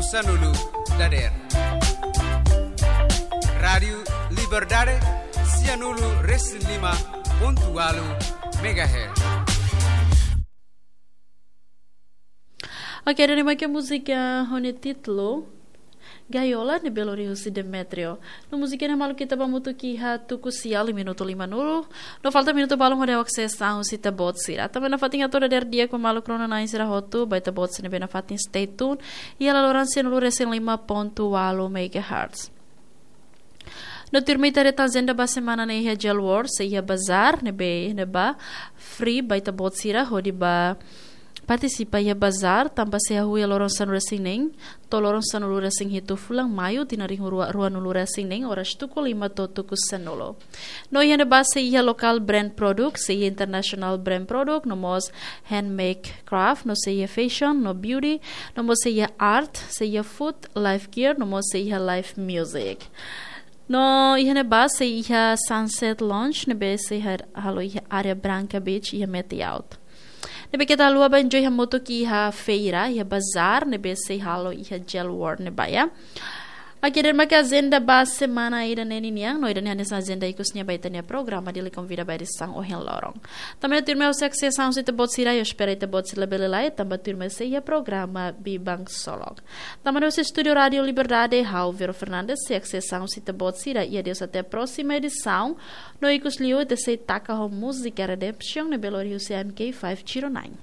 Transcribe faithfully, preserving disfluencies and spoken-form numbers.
Sanulu dader. Rádiu Liberdade, sianulu resin lima pontu walu megahertz. Oke, ida-ne'e mak múzika ho nia títulu Gaiola, ne'ebé lori husi Demetrio. No múzika ne'e maluk ita ba hamutuk iha tuku sia, minutu lima nulu. No falta minutu balun hodi ha'u akses an husi ita-boot sira. Tanba nafatin hato'o dader di'ak ba maluk rona-na'in sira hotu, ba ita-boot sira ne'ebé nafatin stay tuned. Iha laloran sianulu resin lima pontu walu megahertz. No tuirmai ita haree agenda ba semana ne'e iha Jail World, sei iha bazár, ne'ebé, ne'ebá free ba ita-boot sira, hodi ba partisipa iha bazár, tanba sei hahú iha loron sanulu resin neen, to'o loron sanulu resin hitu fulan Maiu, tinan rihun rua, ruanulu resin neen, oras tuku lima to'o tuku sanulu. No iha ne'ebá sei iha local brand product, sei iha international brand product, no mós handmade craft, no sei iha fashion, no beauty, no mós sei iha art, sei iha food, live gear, no mós sei iha live music. No iha ne'ebá sei iha Sunset Lounge, ne'ebé sei ha-, halo iha área Branca Beach, iha Metiaut. Ne'ebé keta haluha ba enjoy hamutuk iha feira, iha bazár, ne'ebé sei halo iha Jail World ne'ebá, ya. Oke, ida-ne'e mak agenda ba semana ida-ne'e ninian, no ida-ne'e hanesan agenda ikus nian ba ita-nia programa Dili Konvida ba edisaun ohin loron. Tanba ne'e tuirmai ha'u sei akses an husi ita-boot sira, ha'u espera ita-boot sira labele laiha, tanba tuirmai sei iha programa Biban Ksolok. Tanba ne'e husi estúdiu Rádiu Liberdade, ha'u Vero Fernandes sei akses an husi ita-boot sira, i adeus até próxima edisaun, no ikus liu ita sei taka ho múzika Redemption, ne'ebé lori husi M K five zero nine.